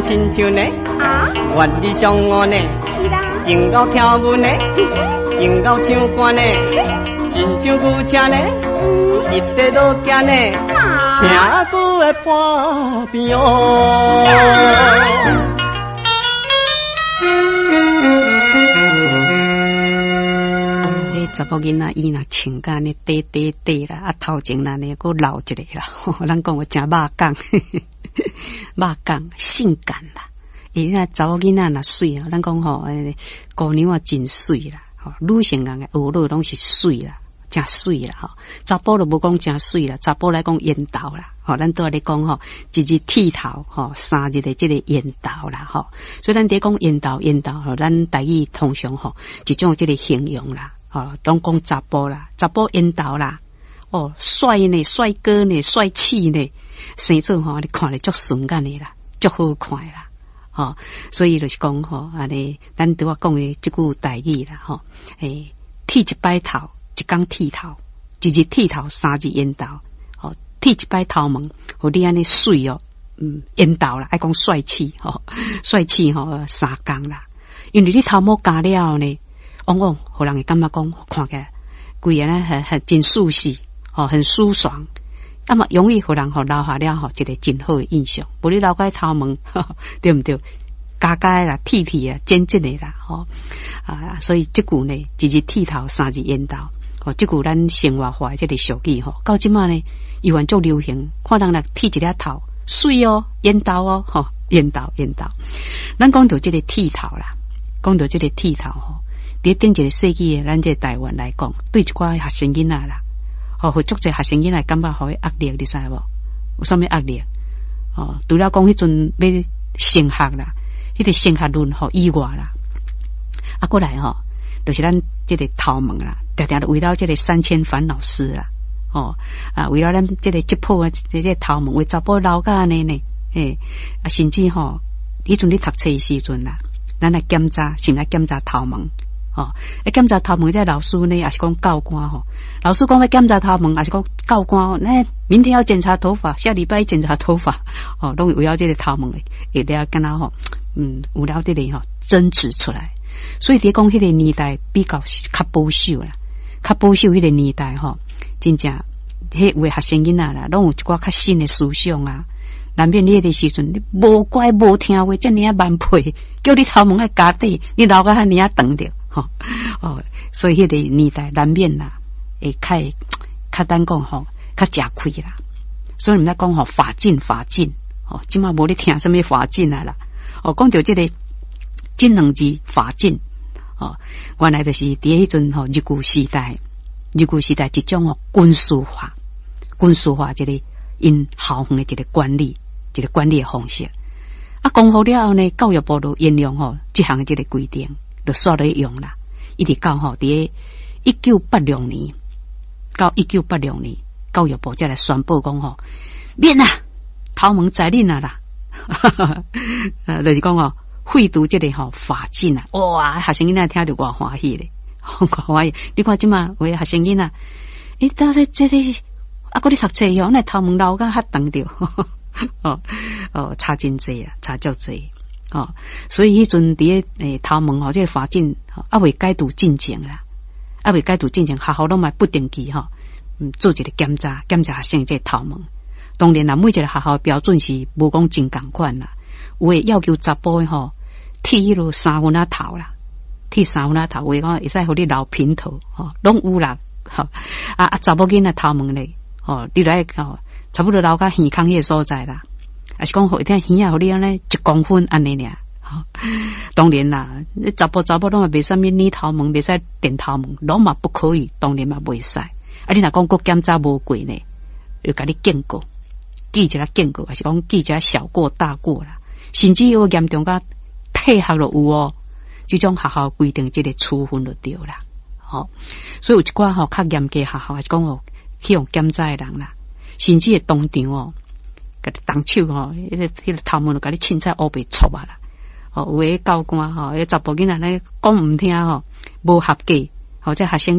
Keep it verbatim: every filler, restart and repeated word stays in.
親像呢，啊，萬里相誤呢，是啦，真𠢕跳舞呢，真𠢕唱歌呢，親像牛車呢，一塊落行呢，啊，聽久會半邊哦。彼查某囡仔伊若穿甲按呢短短短啦，啊頭前若按呢閣露一个啦，吼，咱講話誠肉感，肉感性感啦。伊若查某囡仔若媠啊，咱講吼，欸，姑娘啊真媠啦，吼，女性人的學樂攏是媠啦，誠媠啦，吼。查埔就無講誠媠啦，查埔來講緣投啦，吼，咱拄仔咧講吼，一日剃頭，吼，三日的這個緣投啦，吼。所以咱佇講緣投緣投吼，咱台語通常吼一種這個形容啦，吼，攏講查埔啦，查埔緣投啦，哦，帥呢，帥哥呢，帥氣呢，生做吼，你看咧足順眼的啦，足好看的啦。吼，所以就是講吼，按呢，咱拄仔講的這句台語啦，吼，欸，剃一擺頭，一工剃頭，一日剃頭，三日緣投，吼，剃一擺頭毛，予你按呢媠哦，嗯，緣投啦，愛講帥氣，吼，帥氣吼，三工啦，因為你頭毛鉸了後呢，往往予人會感覺講，看起來規个呢很很真舒適，吼，很舒爽。啊嘛容易予人吼留下了吼一個真好的印象。無你留個頭毛，對毋對？鉸鉸啦，剃剃啊，剪剪的啦，吼啊！所以這句呢，一日剃頭，三日緣投。吼，這句咱生活化的這個俗語吼，到這馬呢，猶原足流行。看人來剃一粒頭，媠哦，緣投哦，吼，緣投緣投。咱講到這個剃頭啦，講到這個剃頭吼，佇頂一個世紀的咱這個台灣來講，對一寡學生囡仔啦。吼，予足濟學生囡仔感覺予伊壓力，你知無？有啥物壓力？吼，除了講彼陣欲升學啦，彼個升學率吼以外啦，啊，閣來吼，就是咱這個頭毛啦，定定圍繞這個三千煩惱絲啦，吼啊，圍繞咱這個這破啊，這個頭毛，有查埔留甲按呢呢，嘿，啊，甚至吼，彼陣咧讀冊的時陣啦，咱來檢查，是毋來檢查頭毛？吼，欸，檢查頭毛，這老師呢，抑是講教官吼，老師講欲檢查頭毛，抑是講教官，欸，明天要檢查頭髮，下禮拜檢查頭髮，吼，攏圍繞這個頭毛會了敢若吼，嗯，有了這個吼爭執出來。所以佇講彼個年代比較較保守啦，較保守彼個年代吼，真正彼有的學生囡仔啦，攏有一寡較新的思想啊。難免你彼個時陣，你無乖無聽話，遮爾仔蠻皮，叫你頭毛愛鉸短，你留甲遐爾仔長著。吼哦，所以彼個年代難免啦，會較較咱講吼，較食虧啦。所以毋知講吼，髮禁髮禁，吼，這馬無咧聽啥物髮禁啊啦。哦，講著這個這兩字髮禁，吼，原來就是佇彼陣吼日據時代，日據時代一種吼軍事化，軍事化一個𪜶校園的一個管理，一個管理的方式。啊，光復了後呢，教育部就沿用吼這項這個規定。就煞咧用啦，一直到吼佇一九八六年，到一九八六年，教育部才來宣布講吼，免啊，頭毛在恁啊啦，呃，就是講吼廢除這個吼髮禁啊，哇，學生囡仔聽著偌歡喜咧，偌歡喜。你看這馬有的學生囡仔，欸，到底這個啊，閣咧讀冊吼，那頭毛留甲較長著，哦哦，差真濟啊，差足濟。哦，所以彼陣佇咧欸頭毛吼，這個髮禁猶未解除進前啦，猶未解除進前，學校攏嘛不定期吼，嗯，做一個檢查，檢查學生這個頭毛。當然啦，每一個學校標準是無講真仝款啦，有的要求查埔的吼，剃彼落三分仔頭啦，剃三分仔頭，有的講會使予你留平頭，吼，攏有啦。吼啊啊，查某囡仔頭毛咧，吼，你來吼，差不多留到耳孔彼個所在啦。抑是講予聽耳仔，予你按呢一公分按呢爾。當然啦，你查埔查某攏嘛袂使物染頭毛，袂使電頭毛，攏嘛不可以，當然嘛袂使。啊，你若講閣檢查無過呢，就共你警告，記一下警告，抑是講記一下小過大過啦，甚至有嚴重甲退學都有哦。這種學校規定這個處分就對啦。吼，所以有一寡吼較嚴格學校，抑是講哦去予檢查的人啦，甚至會當場哦。共你動手吼，彼個彼個頭毛就共你凊彩烏白戳啊啦！吼，有的教官吼，彼查埔囡仔咧講毋聽吼，無合格，或者學生。